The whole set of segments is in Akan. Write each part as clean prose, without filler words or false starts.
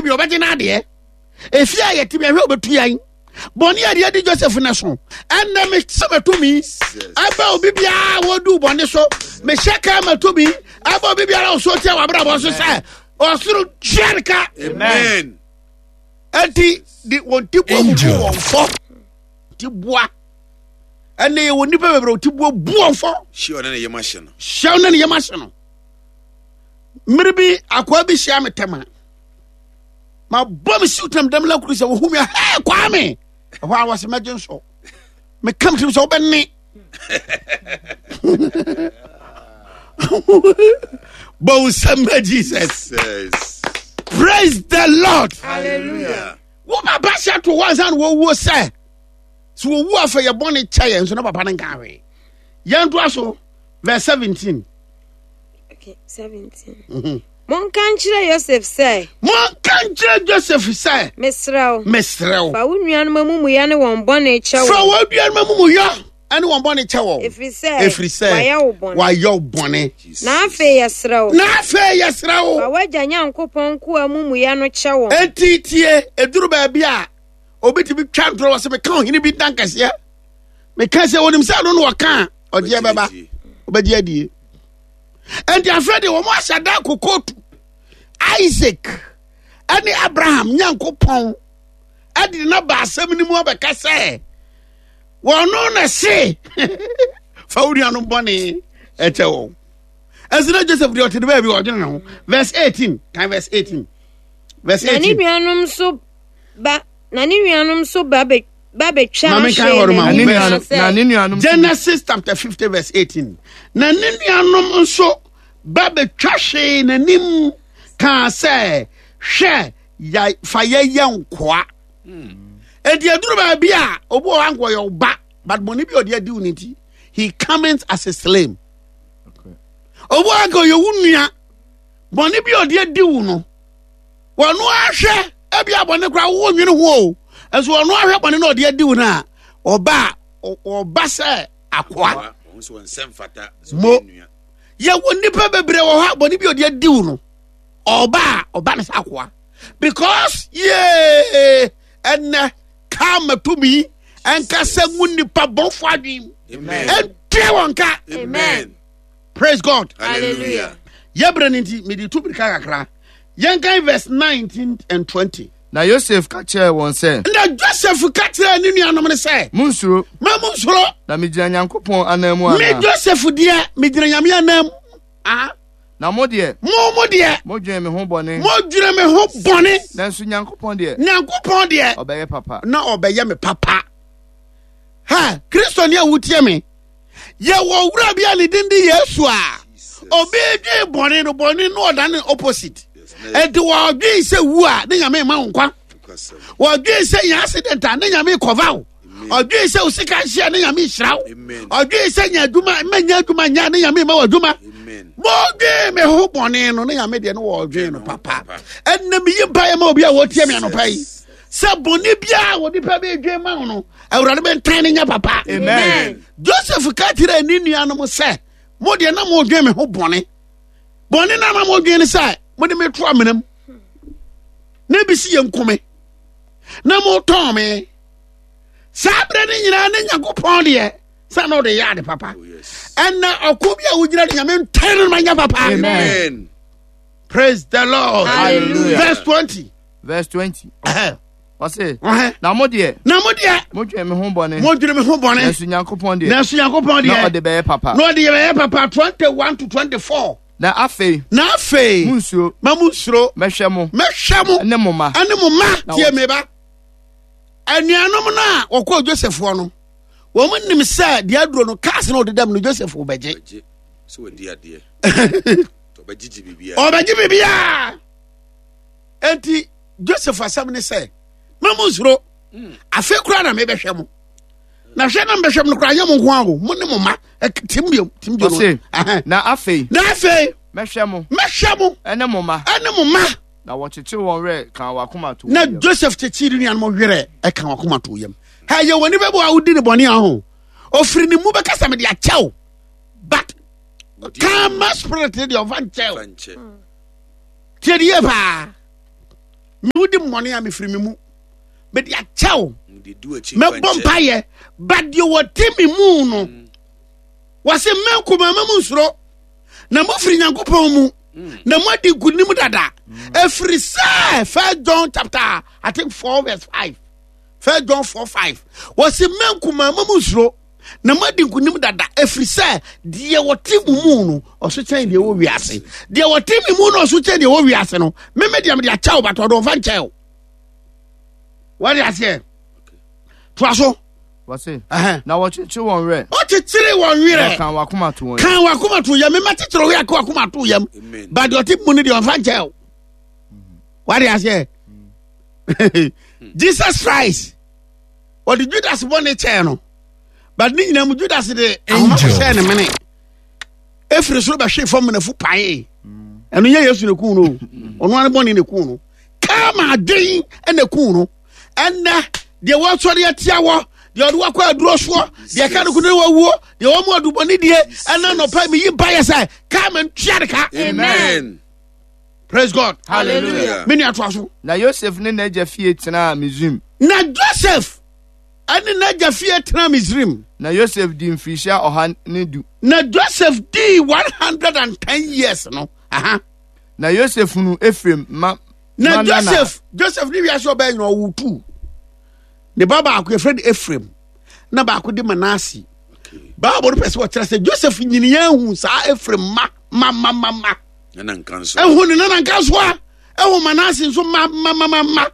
bi ɔbɛgye n'adeɛ. Efie a yɛte bi ahwɛ ɔbɛtu yɛn. Bɔne a deɛ di Joseph no so. Ɛnna me sɛ matumi ɛbɛ obi biara wɔdu bɔne so. Mehyɛ kaa matumi ɛbɛ obi biara ɔso tia w'abrabɔ so sɛ ɔsoro tua ne ka. Amen. Enti de wɔn ti bua bubu wɔn fɔ. Ti bua. Ɛnna yɛ wɔn nipa bebree ti bua bu wɔn fɔ. Hyɛ ɔne ne yam ahyɛ no. Hyɛ ɔne ne yam ahyɛ no. Mmiri bi akoa bi hyia me tɛma. Ma bɔ me siw tam dɛm lakuru sɛ wohu me a hɛɛ Kwame. Ɛhɔ a wɔsɛ mɛgye nsɔ. Meka me tirim sɛ wobɛne. Bɔ wo nsam ma Jesus. Yes. Praise the Lord. Hallelujah. Wo papa hyɛ to hɔ ansa na wɔwuo sɛ sɛ wɔwu afɛ yɛ bɔne kyɛ yɛn nso na papa no nka hwee. Yɛntoa so verse 17. Okay, 17. Mm-hmm. Monka nkyerɛ Yosef sɛ. Monka nkyerɛ Joseph sɛ. Mesrɛ wo. Mesrɛ wo. Fa wo nuanom amumuyɛ ne wɔn bɔne kyɛ wɔn. Fa wo nuanom amumuyɛ ne wɔn bɔne kyɛ wɔn. Ɛfiri sɛ. Ɛfiri sɛ. Wɔayɛ wo bɔne. Wɔayɛ wo bɔne. Na afei yɛsrɛ wo. Na afei yɛsrɛ wo. Fa w'agya Nyankopɔn nkoa amumuyɛ no kyɛ wɔn. Enti tie, eduru baabi a obi tumi twa ntorɔ wɔ sɛ meka ɔhene bi ntan kɛseɛ. Meka sɛ onim sɛ ɛno na ɔka a ɔgyeɛ bɛba. Ɔbɛgye adie. Enti afei deɛ wɔn ahyɛ da kɔ kootu Isaac ɛne Abraham Nyankopɔn ɛde na ba asɛm no mu abɛka sɛ wɔn no na se fa wo nuanom bɔne ɛkyɛ wɔn. Ɛnso na Joseph deɛ ɔte ne baabi ɔdwene ne ho. Verse 18 kan verse 18. Verse 18. Na ne nuanom nso ba na ne nuanom nso ba bɛ ba bɛtwa Maame kan hwee hɔ no ma n'anim wo. kaa sɛ, Na ne nuanom Genesis chapter 50 verse 18. Na ne nuanom nso ba bɛtwa hwee n'anim kaa sɛ, hwɛ, ya, fa yɛyɛ nkoa. Enti aduru baabi a obi wɔ hɔ anka ɔyɛ ɔba, but bɔne bi a ɔde adi wo ne nti, he comes as a slave. Obi wɔ hɔ anka ɔyɛ wo nua, bɔne bi a ɔde adi wo no, wɔn ahwɛ ebi abɔne koraa wo nwene ho o nso wɔn ahwɛ bɔne na ɔde adi wo no a ɔba ɔba sɛ akoa mo yɛwɔ nnipa bebree wɔ hɔ a bɔne bi ɔde adi wo no ɔba a ɔba no sɛ akoa because yee ɛnɛ kama tumi ɛnkasa ngu nnipa bɔnfo adwene ɛntua wɔn ka Amen. Praise God. Hallelujah. Yɛbrɛ no nti mede tu mirika kakra. Yɛnkan verse 19 and 20. Na Yosef ka kyerɛɛ wɔn sɛ. Na Joseph ka kyerɛɛ ne nuanom no sɛ. Munnsuro. Ma munnsuro. Na migyina Nyankopɔn ananmu anaa? Me Joseph deɛ, megyina Nyame ananmu. Aha. Na mo deɛ. Mo mo deɛ. Modwene me ho bɔne. Modwene me ho bɔne. Nanso Nyankopɔn deɛ. Nyankopɔn deɛ. Ɔbɛyɛ papa. Na ɔbɛyɛ me papa. Ha, Kristoni a wotie me. Yɛwɔ wura bi a ne din de Yesu a obi dwen bɔne no bɔne no ɔda ne opposite. Enti wɔdwen sɛ wu a ne nyame ma wo nkwa. Wɔdwen sɛ nya accident a ne nyame kɔva wo. Ɔdwen sɛ wo sika nhyia ne nyame nhyira wo. Ɔdwen sɛ nya adwuma mma nya adwuma nya ne nyame ma wo adwuma. Wɔdwen me ho bɔne no ne nyame deɛ no wɔdwen no papa. Ɛnna meyi mpaeɛ ma obi a wɔtie me anɔpa yi sɛ bɔne biara a onipa bi dwen ma wo no awurade bɛntan no nyɛ papa. Amen. Joseph ka kyerɛɛ ne nuanom sɛ, mo deɛ na modwen me ho bɔne. Bɔne na na modwen ne sɛ mode me to amena mu na ebi si yɛ nkome na motɔn me. Saa berɛ no nyinaa ne Nyankopɔn deɛ sɛ na ɔde yɛ ade papa. Oh, Ɛnna ɔko bi a wogyina no Nyame ntan no ma nyɛ papa. Amen. Praise the Lord. Hallelujah. Verse 20. Verse 20. Ɔse, Ɔhɛ. na mo deɛ. Na mo deɛ. Modwene me ho bɔne. Modwene me ho bɔne. Nanso Nyankopɔn deɛ. Nanso Nyankopɔn deɛ. Na ɔde bɛyɛ papa. Na ɔde bɛyɛ papa 21 to 24. Na afei. Na afei. Munnsuro. Ma munnsuro. Mɛhwɛ mo. Mɛhwɛ mo. Ɛne mo mma. Ɛne mo mma. Tie me ba. Anuanom no a wɔkɔɔ Joseph hɔ no, wɔn nim sɛ deɛ aduro no cars na ɔde dam no Joseph bɛgye. Ɔbɛgye biribiara. Enti Joseph asɛm ne sɛ, ma mo nsuro, hmm. afei koraa na mebɛhwɛ mo. Na hwɛ na mbɛhwɛ mo no koraa nyɛ mo nko ara o, mo ne mo mma. Tim biom, tim biom. Ɔse, na afei. Na afei. Mɛhwɛ mo. Mɛhwɛ mo. Ɛne mo mma. Ɛne mo mma. Na wɔkyekyere wɔn werɛ ka wɔn akoma to Na Joseph kyekyere ne nuanom werɛ ɛka wɔn akoma to yam. Ha yɛ wɔ nipa bi a wodi ne bɔne aho. Ofiri ne mu bɛka sɛ mede akyɛw. But kama spirit ne deɛ ɔfa nkyɛw. Tie de yie paa. mmɔne a mefiri me mu mede akyɛw mɛbɔ mpayɛ but deɛ wɔte me mu no mm. wɔse mɛnkoma ma mu nsuro na mofiri nyankopɔn mu mm. na moadi nkonim dada mm. ɛfiri sɛ first john chapter i think 4 verse 5 first john 4 5 wɔse mɛnkoma ma mu nsuro na moadi nkonim dada ɛfiri sɛ deɛ wɔte mo mu no ɔso kyɛn deɛ wɔ wiase deɛ wɔte me mu no ɔso kyɛn deɛ wɔ wiase no meme deɛ mede akyɛw but ɔde ɔmfa nkyɛw wɔde aseɛ toa so wɔse na wɔkyekyere wɔn werɛ ɔkyekyere wɔn werɛ kan wakoma to wɔn kan wakoma to yam mema kyekyere werɛ ka wakoma to yam but deɛ ɔte mu no deɛ ɔmfa nkyɛw wɔde aseɛ jesus christ ɔde judas bɔne kyɛɛ no but ne nyinaa mu judas de ahoma kɔhyɛɛ ne mene ɛfiri soro bɛhwee fam nafu paee ɛno nyɛ yesu ne kuu no ɔno ane bɔne ne kuu no kama adwen na kuu no ɛnɛ deɛ wɔsɔre atia wɔ deɛ ɔde wakɔ aduro soɔ deɛ ka no ko ne wawuo deɛ wɔn mu adubɔne die ɛna nɔpa mi yi mpa yɛ sɛ kama ntua de ka amen praise god hallelujah me nua toa so na yosef ne n'agya fie tenaa misraim na joseph ɛne n'agya fie tenaa misraim na yosef di mfirihyia 110 na joseph dii 110 years no aha na yosef hunu efraim ma na joseph joseph ne wiase ɔbɛn nyina ɔwo tu ne ba baako yɛfrɛ no efraim na baako de manase bible no pɛ sɛ wɔkyerɛ sɛ joseph nyiniya hu saa efraim ma ma ma ma ma ɛhu ne nana nka so a ɛhu manase nso ma ma ma ma ma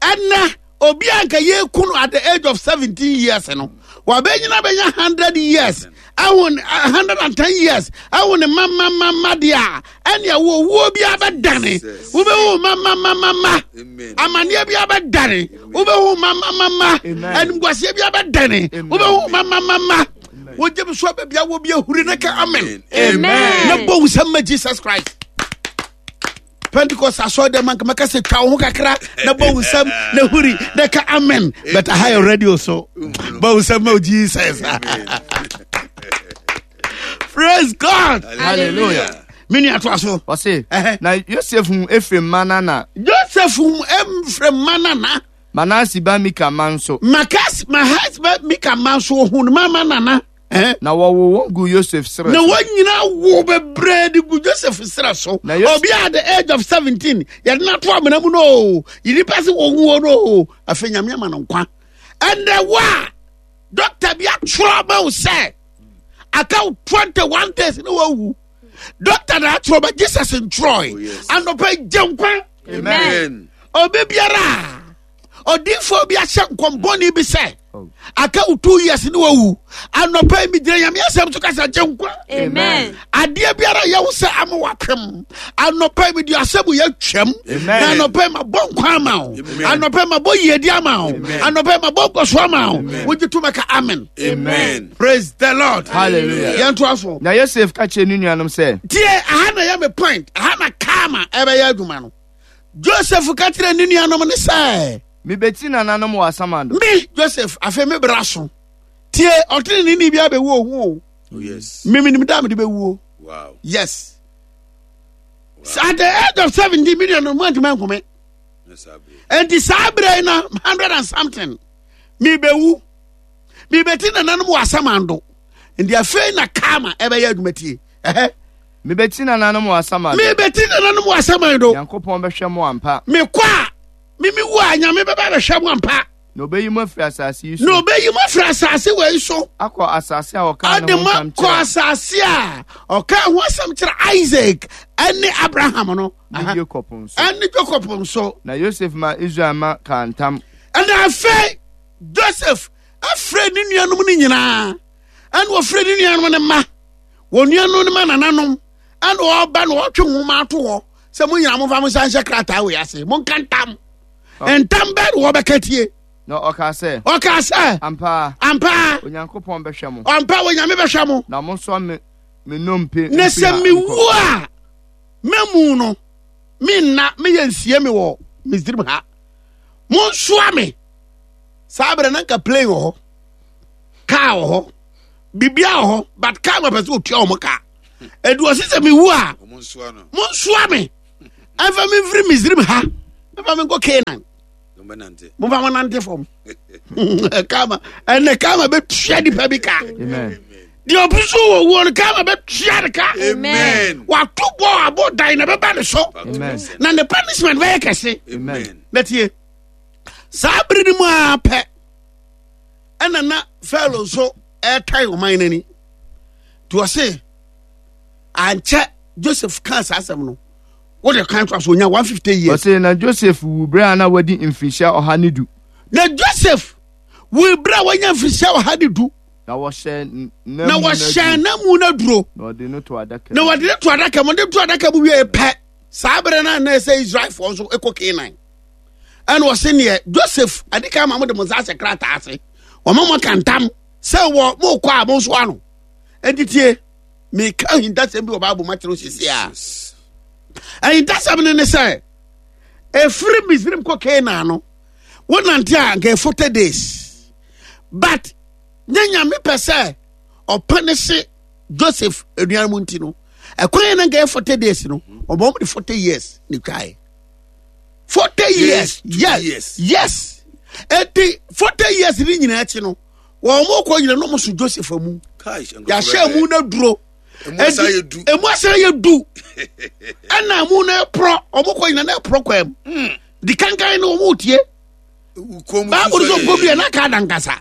ɛnɛ obi a nka yɛku no at the age of 17 years no wabɛnyina bɛnya 100 years ɛho 110 years ɛho ne mamamama deɛ a ɛne ɛwɔ owuo bi abɛdane wobɛhu mamamamama amanneɛ bi abɛdane wobɛhu mamamama animguaseɛ bi abɛdane wobɛhu mamamama wogye me so ababia wɔ bi ahuri ne ka amen na bɔ wo sɛm ma jesus christ pentecost asɔre dɛm anka mɛka sɛ twa wo ho kakra na bɔ wo nsam na huri na ka amen but aha yɛ radio so bɔ wo nsam ma jesus praise god hallelujah me nua to aso ɔse na yosef hu efraim mma nana joseph hu efraim mma nana manase ba mika mma nso makas mahas ba mika mma nso ohun mama nana Eh? Na wɔwoo wɔn gu Yosef serɛ so. Na wɔn nyinaa wo bebree de gu Joseph serɛ so. Obi at the age of 17 yɛde no ato amena mu no o yɛnipa sɛ wɔwuo no o afei nyame ama no nkwa. Ɛnɛ wo a dɔkta bi atwerɛ ma wo sɛ aka wo 21 days ne wawu dɔkta na atwerɛ ba Jesus ntwerɛe oh, anɔpɛ gye nkwa. Amen. Obi biara ɔdiifoɔ bi ahyɛ nkɔmbɔne bi sɛ oh. aka wo two years ne wawu anɔpa yi megyina nyame asɛm so kasa gye nkwa adeɛ biara yɛ wo sɛ ama wapem anɔpa yi mede asɛm yɛ twam na anɔpa yi mabɔ nkwa ama wo anɔpa yi mabɔ yiedi ama wo anɔpa yi mabɔ nkɔso ama wo wogye to mɛka amen amen praise the lord hallelujah yɛntoa so na yosef ka kyerɛ ne nuanom sɛ tie aha na yɛ me point aha na kama ɛbɛyɛ adwuma no Joseph ka kyerɛ ne nuanom no sɛ. Mebɛti nananom wɔ asamando. Me, Joseph, afei me bra so. Tie, ɔtenenee bi abɛwu ohu o. Oh, yes. Me menim da a mede bɛwuo. Wow. Yes. Wow. At the age of 70, me nuanom mu antumi ankume. Enti saa berɛ yi na hundred and something mebɛwu. Mebɛti nananom wɔ asamando. Nti afei na karma ɛbɛyɛ adwuma tie. Ɛhɛ. Mebɛti nananom wɔ asaman do. Mebɛti nananom wɔ asaman do. Nyankopɔn bɛhwɛ mo ampa. Mekɔ a, mimi wu a, Nyame bɛba bɛhwɛ mo ampa. Na ɔbɛyi mo afiri asase yi so. Na ɔbɛyi mo afiri asase wei so. Akɔ asase a ɔkaa ne ho ntam kyerɛ. Ɔde mo akɔ asase a ɔkaa ho asɛm kyerɛ Isaac ɛne Abraham no. Ne Jacob nso. Ɛne Jacob nso. Na Yosef ma Israel ma kaa ntam. Ɛna afei Joseph afrɛ ne nuanom no nyinaa ɛna ɔfrɛ ne nuanom no mma. Wɔn nuanom no ma nananom ɛna ɔba na ɔtwe nwoma ato hɔ sɛ mo nyinaa momfa mo nsa nhyɛ krataa wei ase monka ntam ntam bɛɛ na wɔbɛka tie. Na ɔkaa sɛ. Ɔkaa sɛ. Ampa. Ampa. Onyankopɔn bɛhwɛ mo. Ampa Onyame bɛhwɛ mo. Na mo nso me me nnompe. Na sɛ mewu a mɛmu no menna meyɛ nsie me wɔ Misrim ha. Monsoa me. Saa berɛ na nka plane wɔ hɔ kaa wɔ hɔ biribiara wɔ hɔ but kaa ma pɛ sɛ otua wɔn ka edu ɔsi sɛ mewu a monsoa me ɛnfa me mfiri misrim ha ɛnfa me nkɔ canaan. Momfa mo nante fam. Kama ɛnɛ kama bɛtua nipa bi ka. Deɛ ɔbi so wɔ wuo no kama bɛtua ne ka. Wato bɔ abɔ dan na bɛba ne so. Na ne punishment bɛyɛ kɛse. Na tie saa bere no mu ara pɛ ɛna na Pharaoh nso ɛretan ɔman no ani. Nti ɔse ankyɛ Joseph kaa saa asɛm no wode kan to so onya 150 years. Ɔse na Joseph wu berɛ a na wadi mfirihyia 110. Na Joseph wu berɛ a wanya mfirihyia 110. Na wɔhyɛ na wɔhyɛ n'amu no aduro. Na wɔde no to adaka mu. Na wɔde no to adaka mu. Wɔde to adaka mu wie pɛ. Saa berɛ no a na ɛsɛ Israelfoɔ nso kɔ Canaan. Ɛna ɔse neɛ Joseph adi kan ma mo de mo nsa ahyɛ krataa ase. Wɔma mo aka ntam sɛ wɔ mo kɔ a mo nso ano. Enti tie meka ahintasɛm bi wɔ Bible mu akyerɛ wo sisi a. Ahintasɛm no ne sɛ ɛfiri Misrim kɔ Canaan no wonante a nka 40 days but nyɛ nyame pɛ sɛ ɔpɛ ne se Joseph anuanom nti no ɛkwan yɛ na nka yɛ 40 days no ɔbɔ wɔn de 40 years ne twae 40 years yes yes eti 40 years ne nyinaa akyi no wɔn mo kɔ nyina no mo so Joseph amu yɛahyɛ amu no aduro emu asan yɛ du ɛna amu no ɛporɔ wɔn kɔ nyina no ɛporɔ kwan mu hmm. di kankan no wɔn tie baabu no so nkɔ bi yɛ n'aka adankasa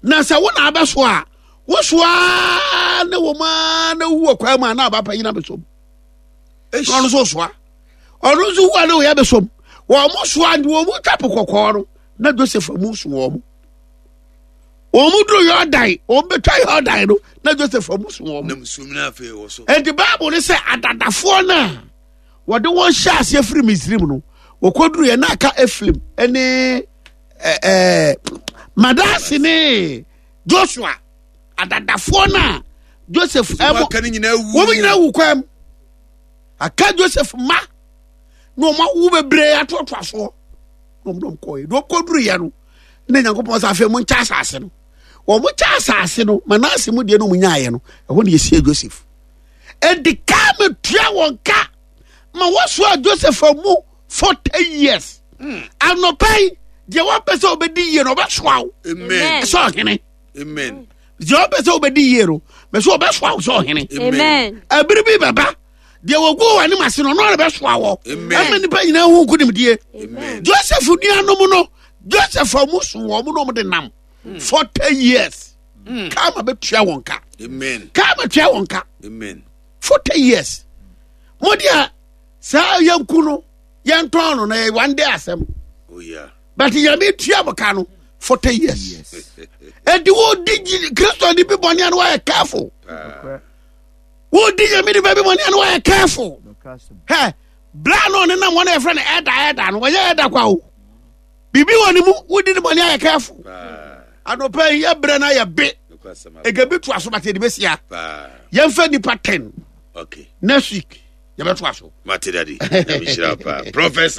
na sɛ wo na abɛso a wosoa ne wɔn a na wu wɔ kwan mu a na aba panyin abɛsom na ɔno nso soa ɔno nso wu a na wɔyɛ abɛsom wɔn mo soa nti wɔn mo twa po kɔkɔɔ no na Joseph mu so wɔn wɔn mo duro Yordan wɔn bɛtwa Yordan no na Joseph mu so wɔn nti baabu no sɛ adadafoɔ no a wɔde wɔn hyɛ aseɛ firi Misrim no wɔkɔduru yɛ na aka Efraim ne ɛɛ Manase ne Joshua adadafoɔ no a Joseph ɛbɔ wɔn nyinaa wu kwan mu aka Joseph ma na wɔn awo bebree atoatoa soɔ na wɔn dɔm kɔɛ na wɔn kɔduru yɛ no na Nyankopɔn sɛ afei mo nkyɛ asase no wɔn kyɛ asase no Manase mu deɛ no wɔn nyaayɛ no ɛhɔ na yɛsie Joseph ɛdi kaa metua wɔn ka ma wɔsoa Joseph mu 40 years hmm. anɔpa yi deɛ wɔpɛ sɛ wɔbɛdi yie no ɔbɛsoa wo sɛ ɔhene deɛ wɔpɛ sɛ wɔbɛdi yie no mɛ sɛ ɔbɛsoa wo sɛ ɔhene ɛbere bi bɛba deɛ wɔgu wɔ anim ase no ɔno ara bɛsoa wɔ ɛma nnipa nyinaa hu nkonimdie Joseph nuanom no Joseph a wɔn so wɔn na wɔn de nam 40 hmm. years hmm. kaama bɛtua wɔn ka kaama tua wɔn ka 40 years mo deɛ saa yɛnku no yɛntɔn no na yɛ one day asɛm oh, yeah. but nyame tua mo ka no 40 years ɛnti wodi kristo ni bi bɔne a no wayɛ careful wodi nyame nipa bi bɔne a no wayɛ careful hɛ bra no ɔne nam wɔn a yɛfrɛ no ɛda ɛda no wɔyɛ ɛda kwa o biribi wɔ ne mu wodi ne bɔne ayɛ careful anɔpa yi yɛbrɛ no ayɛ be ɛgabi to aso bate yɛde bɛsia yɛmfa nipa 10 okay. next week yɛbɛtoa so mate dade nyame hyira paa professor.